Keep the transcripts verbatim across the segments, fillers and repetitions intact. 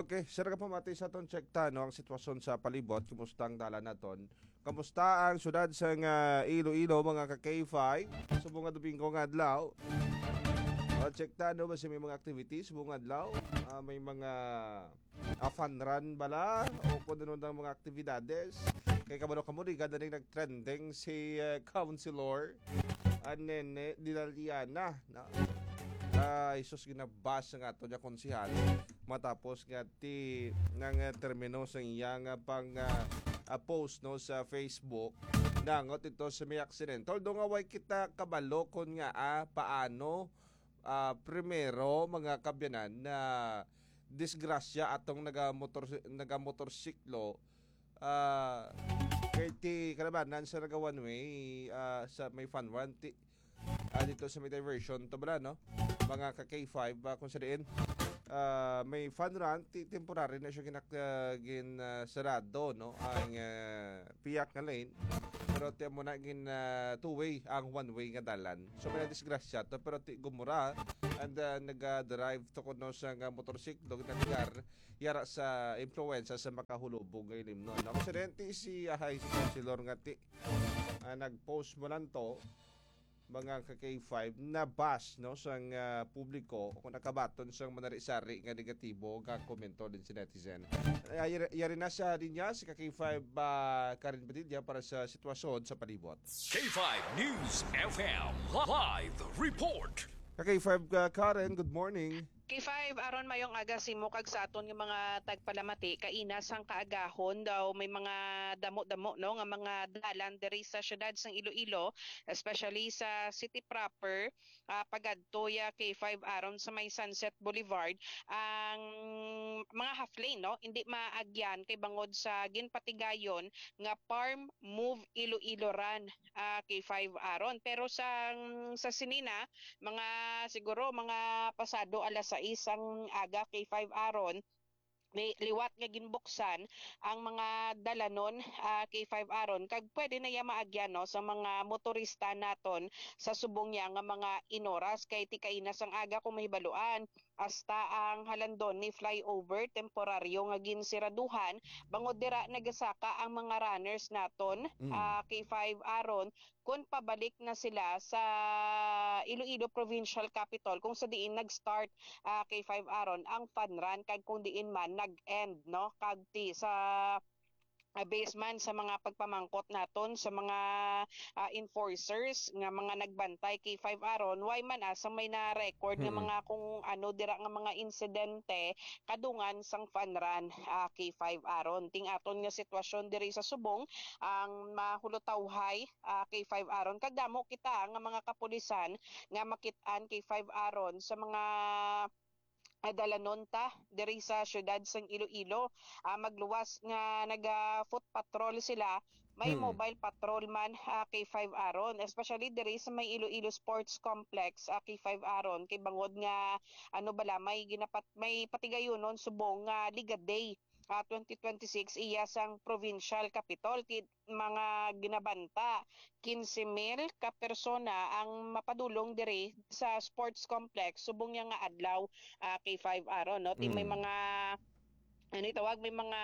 Okay, sir, ka pamati sa aton check ta, no, ang sitwasyon sa palibot. Kumusta ang dalan naton? Kamusta ang syudad sa nga Iloilo, mga ka K five? Subong nga Domingo nga adlaw. O, check ta, no, basi may mga activities subong nga adlaw. Ah, may mga, ah, fun run bala o kung ano ang mga aktibidades. Kay kabalo kamo, di ganda ning nag-trending si, eh, Councilor, ah, Nene Dinaliana, no? Ah, Jesus, ginabas nga ato niya konsihal matapos nga ti nang, eh, termino sa iya nga pang, ah, ah, post, no, sa Facebook. Nangot ito sa may aksidente. Although nga way kita kabalo kon nga, ah, paano, ah, primero, mga kabyanan, na disgrasya atong nagamotor-, nagamotorsiklo, ah, kay ti kalabanan sa naga one way, ah, sa may fun run, ti, ah, dito sa may diversion, to bala, no? Mga ka K five, ah, kung sa diin, ah, may fun run, ti, temporary na siya ginak-, ah, gin, ah, sarado, no? Ang, ah, piyak nga lane. Pero ti mo na gin, ah, two-way ang one-way nga dalan. So, may disgrasya to, pero ti gumura and, ah, nag-drive to kuno sa nga motorsiklo, ginatigar, yara sa impluwensya sa makahulubog nga ilimnon. Ang aksidente si, ah, si Councilor nga ti, ah, nag-post mo lang to, mga ka K five, na bash, no, sang, ah, publiko o kung nakabaton sang manari-sari nga negatibo nga komento din si netizen. Ah, yari, yari na sa linya si ka K five, ah, Karen Padilla para sa sitwasyon sa palibot. K five News F M live report. Ka K five, ah, Karen, good morning. K five, aron mayong aga sa imo kag sa aton nga mga tagpalamati, kaina sang kaagahon daw may mga damo-damo, no, nga mga dalan diri sa siyudad sang Iloilo, especially sa city proper, ah, pagadto ya K five aron sa may Sunset Boulevard, ang mga half lane, no, hindi maagyan kay bangod sa ginpatigayon nga Parm Move Iloilo Run, ah, K five aron. Pero sa, sa sinina, mga, siguro, mga pasado alas sais ang aga, K five aron, ni-, liwat nga ginbuksan ang mga dalanon, ah, K five aron, kag pwede na iya maagyan, no, sa mga motorista naton sa subong niya nga mga inoras, kay ti kaina sang aga kung mahibaluan, hasta ang Halandoni flyover temporaryo nga ginsiraduhan, bangod dira nagasaka ang mga runners naton, Mm. ah, K five aron, kun pabalik na sila sa Iloilo Provincial Capitol, kung sa diin nag-start, ah, K five aron ang fun run, kag kung diin man nag-end, no? Kag ti sa, ah, base man sa mga pagpamangkot naton sa mga, ah, enforcers nga mga nagbantay K five aron, way man asa may na-record nga Hmm. mga kung ano dira nga mga insidente kadungan sang fun run, ah, K five aron. Ting aton nga sitwasyon diri sa subong, ang mahulotawhay, ah, K five aron. Kag damo kita nga mga kapulisan nga makit-an K five aron sa mga, ah, dalanon ta diri sa siyudad sang Iloilo. Ah, magluwas nga naga-foot patrol sila, may Hmm. mobile patrol man, ah, K five aron, especially diri sa may Iloilo Sports Complex, ah, K five aron, kay bangod nga, ano bala, may ginapat-, may patigayunon subong nga Liga Day, ah, twenty twenty-six iya sang provincial capitol. Ti mga ginabanta, quince mil ka persona ang mapadulong diri sa sports complex subong niya nga adlaw, ah, K five aron, no? Ti may Mm. mga, ano itawag, may mga,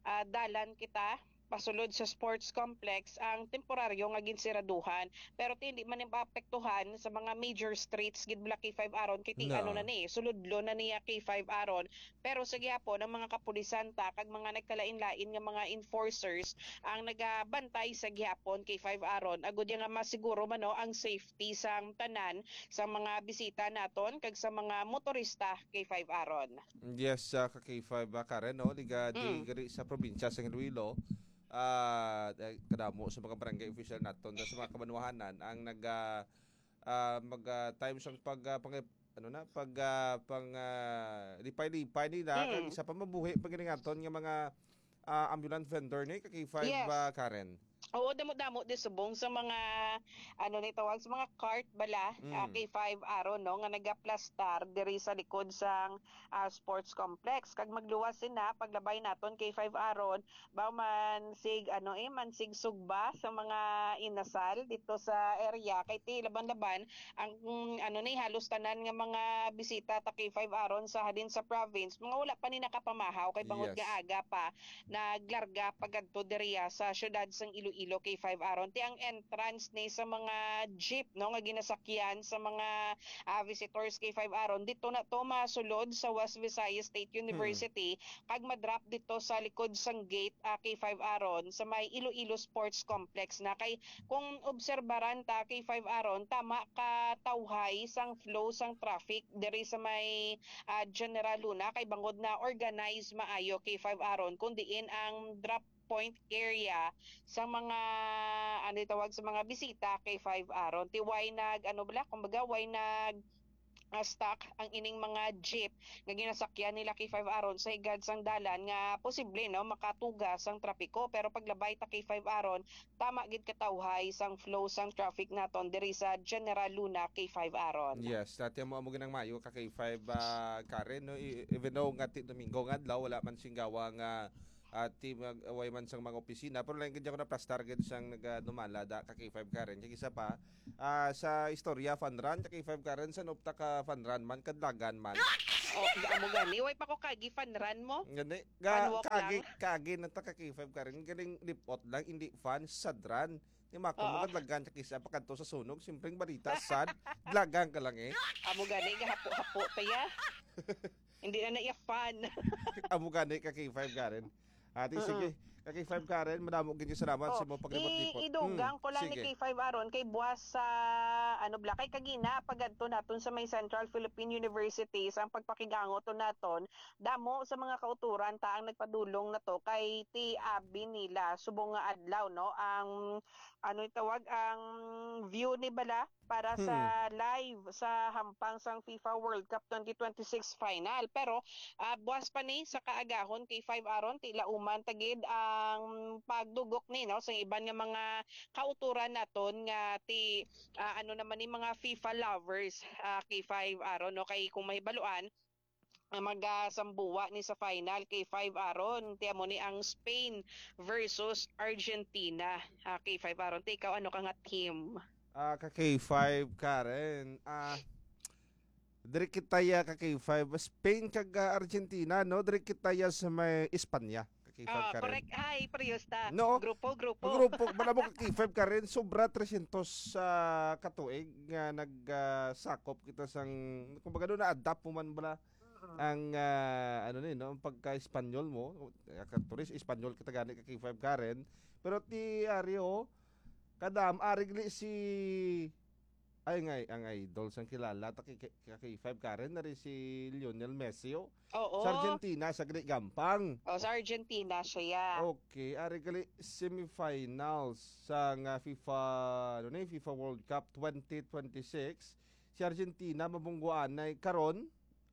ah, dalan kita pasulod sa sports complex ang temporaryo nga ginsiraduhan. Pero ti hindi man ni maapektuhan sa mga major streets gid bala K five aron, kay ti No. ano na ni, suludlo na niya K five aron. Pero sa gihapon, ang mga kapulisan ta kag mga nagkalain-lain nga mga enforcers ang nagabantay sa gihapon K five aron, agud ya nga masiguro man, no, ang safety sang tanan, sa mga bisita naton kag sa mga motorista K five aron. Yes, ah, ka K five, ah, Karen, no? Liga di Mm. gari sa probinsya sa Iloilo. Ah, eh, kadamo sa mga barangay official naton, sa mga kabanwahanan ang nag, ah, ah, mag, ah, time sang pag, ah, pang-, ano na, pag, ah, pang, ah, lipay-lipay nila, kag Mm. isa pa mabuhi pa gid ang aton nga mga, ah, ambulant vendor ni ka K five, Yes. ah, Karen. Oo, damo-damo di subong sa mga, ano ni tawag, sa mga cart bala, ah, Mm. K five Aron, no, nga nagaplastar diri sa likod sang, ah, sports complex. Kag magluwas sina, paglabay naton K five Aron, ba man sig, ano, eh, man sig sugba sa mga inasal dito sa area. Kay ti laban-laban, ang, mm, ano ni, halos tanan nga mga bisita ta K five Aron sa halin sa province, mga wala pa ni nakapamahaw kay bangod Yes. nga aga pa, naglarga pagadto diriya sa siyudad sang Iloilo, K five Aron. Ti ang entrance ni sa mga jeep, no, nga ginasakyan sa mga, ah, visitors, K five Aron. Dito na to masulod sa West Visayas State Hmm. University, kag madrop dito sa likod sang gate, ah, K five Aron, sa may Iloilo Sports Complex na. Kay kung obserbaran ta, K five Aron, tama ka tawhay sang flow sang traffic diri sa may, ah, General Luna, kay bangod na organized maayo, K five Aron, kun diin ang drop point area sa mga, ano tawag, sa mga bisita, K five Aron. Ti way nag, ano bala, kumbaga, way nag, ah, stuck ang ining mga jeep nga ginasakyan nila, K five Aron, sa higad sang dalan nga posible, no, makatuga sang trapiko. Pero paglabay ta, K five Aron, tama gid katawhay sang flow sang traffic naton diri sa General Luna, K five Aron. Yes, dati mo amo ginang mayo ka K five, ah, Karen, no? I- even though nga ti Domingo nga adlaw, wala man singgawa nga, ah, ti mag-, way man sang mga opisina, pero lain gid ako naplastar gid sang nagadumala da ka K five Karen. Kay isa pa, ah, sa istorya, fun run, ka K five Karen, sa nupta ka fun run man, kadlagan man. Oh, amo gani, way pa ko kagi fun run mo? Gani, Fun ga, walk kagi, lang. Kagi na ta ka K five Karen, galing lipot lang, hindi fun, sad run. Ni Mako, Oo. Mga dalagan sa kisa, pakadto sa sunog, simpleng balita, sad, dalagan ka lang eh. Amo gani, gahapo-hapo ta ya. Hindi na na iya fun. Amo gani ka K five Karen. Ate, Mm-mm. Sige, ka K five Karen, madamo gid salamat sa Oh, imong paglibot-libot. I-, idugang Mm, ko lang ni sige. K five Aron, kay buwas sa, ano, bla, kay kagina, pagadto naton sa may Central Philippine University, sa ang pagpakig-angot naton, damo sa mga kauturan ta ang nagpadulong na to kay ti abi nila subong nga adlaw, no, ang ano yung tawag, ang view ni bala para sa Hmm. live sa hampang sang FIFA World Cup twenty twenty-six final. Pero, ah, buwas pa ni sa kaagahon kay five Aron, tila uman tagid ang pagdugok ni, no, sa iban nga mga kauturan naton nga ti, ah, ano naman ni mga FIFA lovers, ah, kay five Aron, no, kay kung mahibaluan, ang magasambuwa ni sa final, K five Aron. Ti amo ni ang Spain versus Argentina. Ah, K five Aron, ti ikaw ano ka nga team? Ah, ka K five, Karen. Ah, diri kita ya ka K five, Spain kag, ah, Argentina, no? Diri kita ya sa may Espanya, ka K five, Ah, Karen. Correct. Ay, parehas ta. No. Grupo, grupo. Grupo, bala mo ka K five, Karen, sobra tresyentos sa katuig nga nag, ah, sakop kita sang, kumbaga, doon na-adapt mo man bala Mm. ang, ah, ano ni, no, ang pagka-Espanyol mo, ah, ka turis, Espanyol kita gani ka K five Karen. Pero ti Ario, kadam, ari gali si, ay, ang, ang idol sang kilala, ta kay, kay, kay K five Karen, nari si Lionel Messi, oh. Oo. Sa Argentina, sa gali gampang. Oh, sa Argentina siya, yeah. Okay, ari gali semifinals sa nga FIFA, ano ni, FIFA World Cup twenty twenty-six. Si Argentina, mabungguanay karon,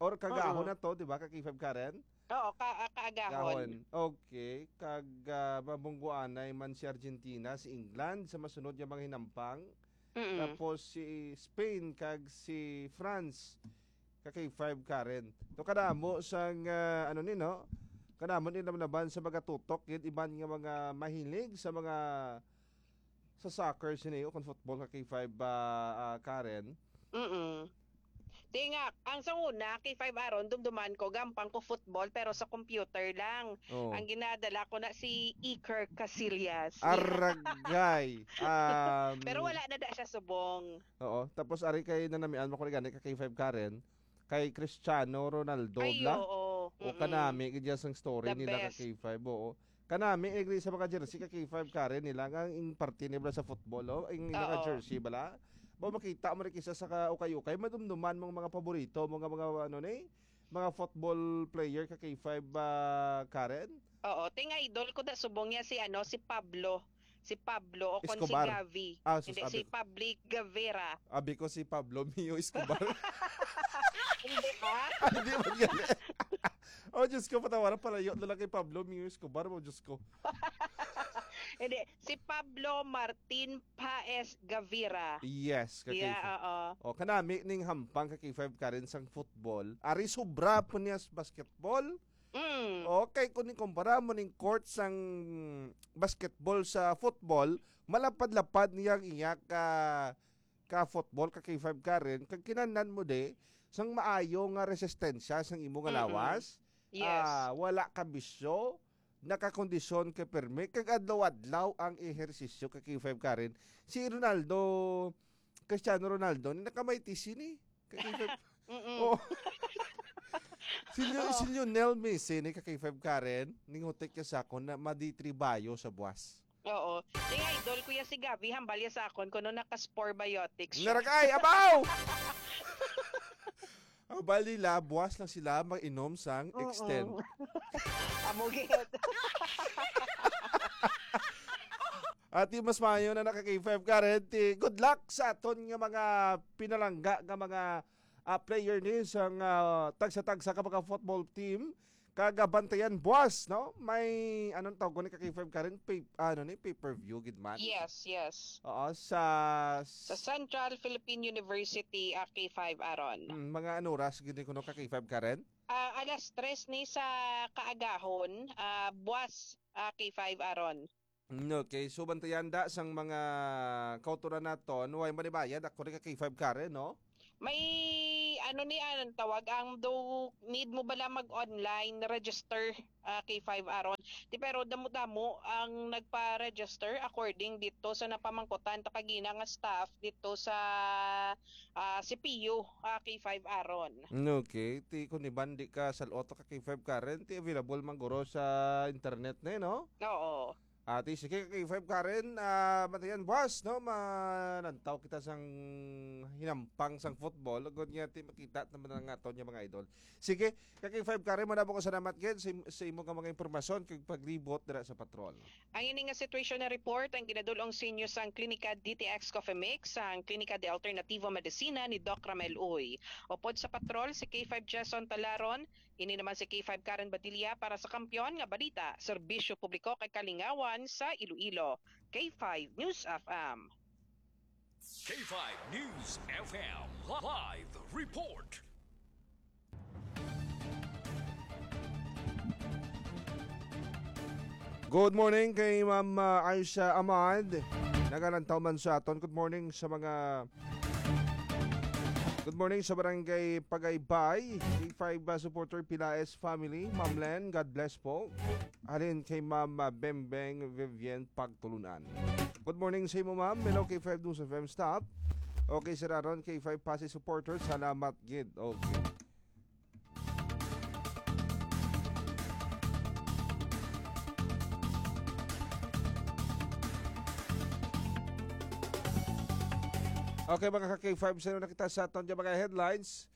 or kagahon Oo. na to, di ba, ka K five Karen? Oo, ka-, ah, kaagahon. Gahon. Okay. Kag, ah, mabungguanay man si Argentina, si England sa masunod nga mga hinampang. Mm-mm. Tapos si Spain kag si France, ka K five Karen. To kadamo sang, ah, ano ni, no? Kadamo ni naman sa mga tutok, yun, iban nga mga mahilig sa mga sa soccer sini o kon football ka K five ba, ah, Karen? Mm. Di nga, ang sa una, K five Aron, dumduman ko, gampang ko football, pero sa computer lang. Oo. Ang ginadala ko na si Iker Casillas. Aragay! Um, Pero wala na da siya subong. Oo. Tapos, ari kay nanamian mo ko ni gani ka K five Karen, kay Cristiano Ronaldo Ay, bla? Oo. O Mm-mm. Kanami, gid sang story The nila ka best. K five, oo. Kanami, agree sa mga jersey ka K five Karen nila nga ang parte nila sa football, oh, ang naka Oo. Jersey bala. Ba makita mo rin kisa sa ka-, ukay-ukay, madumduman mong mga paborito, mga, mga ano ni, mga football player ka K five ba, Karen? Oo, ting idol ko da subong niya si ano, si Pablo. Si Pablo o kon si Escobar. Gavi. Ah, sus, Hindi, si abi- Pabli Gavera. Abi ko si Pablo Mio Escobar. Hindi ba? Ah, hindi mo gani. Oh, Diyos ko, patawaran palayo na lang kay Pablo Mio Escobar mo, Diyos ko. Hindi, si Pablo Martin Paez Gavira. Yes, ka Yeah, K five. oo. O, kanami ning hampang ka K five, Karen, sang football. Ari sobra po niya sa basketball. Mm. Okay, kung ikumpara mo ning court sang basketball sa football, malapad-lapad niya ang iya ka, ka football, ka K five, Karen. Kag kinahanglan mo di sang maayo nga resistensya sang imo nga Mm-mm. lawas. Yes. Ah, wala ka bisyo, nakakondisyon ka pirmi, kag adlaw-adlaw ang ehersisyo, ka K five, Karen. Si Ronaldo, Cristiano Ronaldo, ni nakamighty C ni, ka K five. Mm-mm. Oh. Si Leo-, Oo. si Lionel Messi ni, ka K five, Karen, ninghutik niya sa akon na madi-three bayo sa buwas. Oo. Ning idol, kuya, si Gavi, hambal ya sa akon kuno naka-Spore Biotics siya. Narakay, abaw! Ang bali nila, buwas lang sila mag-inom sang Oo. Extend. Amo gid. Ati mas maayo na naka K five, Karen. Ti, good luck sa aton nga mga pinalangga nga mga, ah, player ni sang, ah, tagsa-tagsa ka mga football team. Kag, ah, bantayan buwas, no? May, anong tawag ko ni ka K five, Karen? Pay, ano ni? Pay-per-view, gid man? Yes, yes. Oo, sa Sa Central Philippine University, ah, K five, Aaron. Mm, mga ano oras gid ni kuno ka K five, Karen? Ah, alas tres ni sa kaagahon, ah, buwas, ah, K five, Aaron. Mm, okay. So, bantayan da sang mga kautoran naton, way manibayad, ako rin ka K five, Karen, no? May, ano ni, anong tawag, ang do, need mo bala mag-online register, ah, K five, Aaron? Di, pero damo-damo ang nagpa-register according dito sa napamangkutan ta kagina nga staff dito sa, ah, C P U, ah, K five, Aaron. Mm, okay. Ti, kung iban di ka sa Lotto ka K five, Karen, ti available man guro sa internet na, no? Oo. Ati, sige, ka K five, Karen, ah, bantayan buwas, no? Manantaw kita sang hinampang sang football. Agod nga, ti, makita naman ang aton nga mga idol. Sige, ka K five, Karen, madamo ko salamat gid sa, im-, sa imo nga mga impormasyon kag paglibot dira sa patrol. Ang ini nga situation na report ang ginadul-ong sa inyo sang Klinika D T X Coffee Mix, sang Klinika de Alternativo Medicina ni Doc Ramel Uy. Upod sa patrol, si K five Jason Talaron, ini naman si K five Karen Badilla para sa Kampiyon nga Balita, Serbisyo Publiko kag Kalingawan sa Iloilo. K five News F M. K five News F M live report. Good morning kay Ma'am, ah, Aisha Ahmad. Nagalantaw man sa aton. Good morning sa mga, good morning sa Barangay Pagaybay. K five, ah, supporter Pilaes family. Ma'am Len, God bless po. Halin kay Ma'am, ah, Bembeng Vivian Pagtulunan. Good morning sa imo, ma'am. Hello, K five News F M staff. Okay, Sir Aaron, K five Pasay supporter. Salamat gid. Okay. Okay, mga ka-K five, sa na kita sa aton nga mga headlines.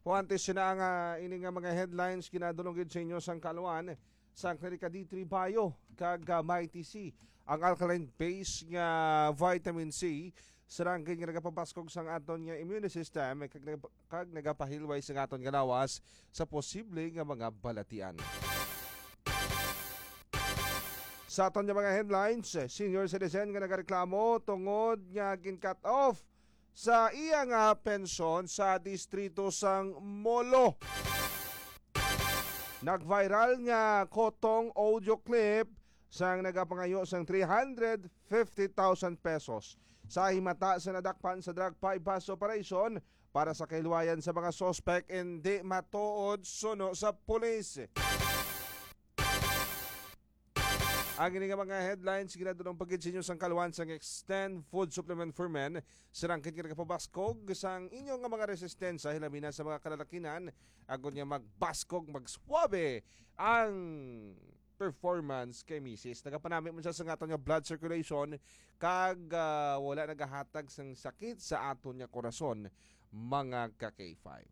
Huantes na nga ini nga mga headlines, ginadulong gid sa inyo sang kaluan sang Klinika D three Bio kag, ah, Mighty C. Ang alkaline base nga vitamin C, sarang gid nga nagapabaskog sang aton nga immune system kag nagap-, kag nagapahilway sang aton nga lawas sa posible nga mga balatian. Sa aton nga mga headlines, senior citizen nga nagareklamo tungod nga gin-cut off sa iya nga pensyon sa distrito sang Molo. Nag-viral nga kotong audio clip sang nagapangayo sang three hundred fifty thousand pesos sa himata sa nadakpan sa drug buy-bust operation para sa kahilwayan sa mga suspek indi matuod suno sa pulis. Ang ini nga mga headlines ginadulong pa gid sa inyo sang kaluan sang Extend Food Supplement for Men, sarang gid nga nagapabaskog sang inyo nga mga resistensya, hilabi na sa mga kalalakinan, agod nga magbaskog, magswabe ang performance kay misis. Nagapanami man siya sa aton nga blood circulation, kag, ah, wala nagahatag sang sakit sa aton nga korason, mga ka K five.